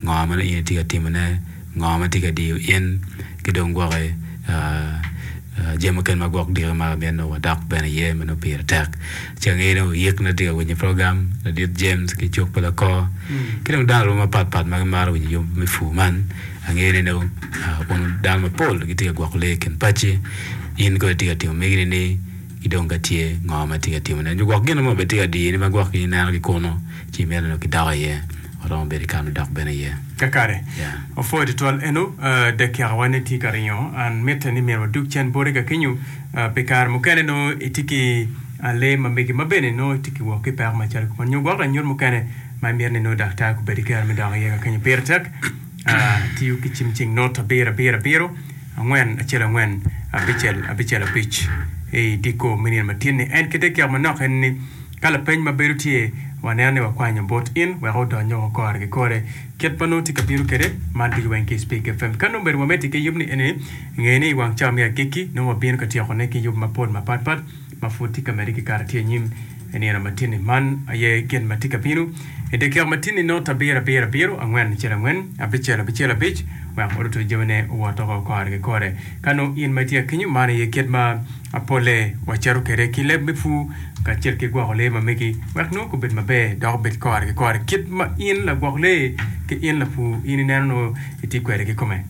Ngo ma nongo in itye ka timone, ngo ma tye ka diyo in, ki dong gwoki jami mukene ma gwok diki ma mito nongo wadok bene iye ma nongo pire tek. Ci angeyo ni oyik nongo tye ka winyo program, ladit James ki cuk pa lakor, ki dong dano aruma mapat pat ma gimaro winyo yub me pur man. Angeyo ni nongo wun dano mapol gitye ka gwoko lee i kin paci, in kono itye ka timo megi ni ki dong ka tye ngo ma itye ka timone nyo gwok gin mo bene tye ka diyini ma gwok in ineno ki kunu ci imito ni kidok iye. Waromo bedo i kare me dok bene iye. Kakare. Yeah. Opwoyo tutwal eno, dakika wa ne tye ka ringo. An mitte ni myero wadug cen boti ka kenyo pi kare mukene nongo itye ki lee ma megi ma bene nongo itye ki wok ki peko macalo kuman nyo gwok lanyut mukene ma imito ni nongo daktar gubed ki kero me dok iye ka kenyo. Pire tek tiyo ki cim cing not abiro abiro abiro angwen acel angwen abicel abicel abic i dyekor me nino matin-ni. En ki dakika manok en ni. Ka lapeny ma bedo tye, waneno ni wakwanyo bot in wek odony woko kore ki kore. Kit ma nongo tye ka bino kwede, man ducu weng ki i Speak FM. Ka nongo obedo wamedde ki yub ni eni, nge ni i wang cawa me agikki, nongo wabino ka tyekone ki yub mapol mapat pat ma pud tye ka medde ki kare tye anyim i nino matin-ni. Man aye gin ma tye ka bino i dakika matin-ni, not abiro abiro abiro angwen acel angwen abicel abicel abic wek odutu jamine owot oko kore ki kore. Ka nongo in ma itye akenyo, man aye kit ma polle wacito kwede ki leb me pur kacel ki gwoko lee ma megi wek nongo gubed maber dok obed kore ki kore kit ma in lagwok lee ki in lapur in ineno nongo itye kwede kikome.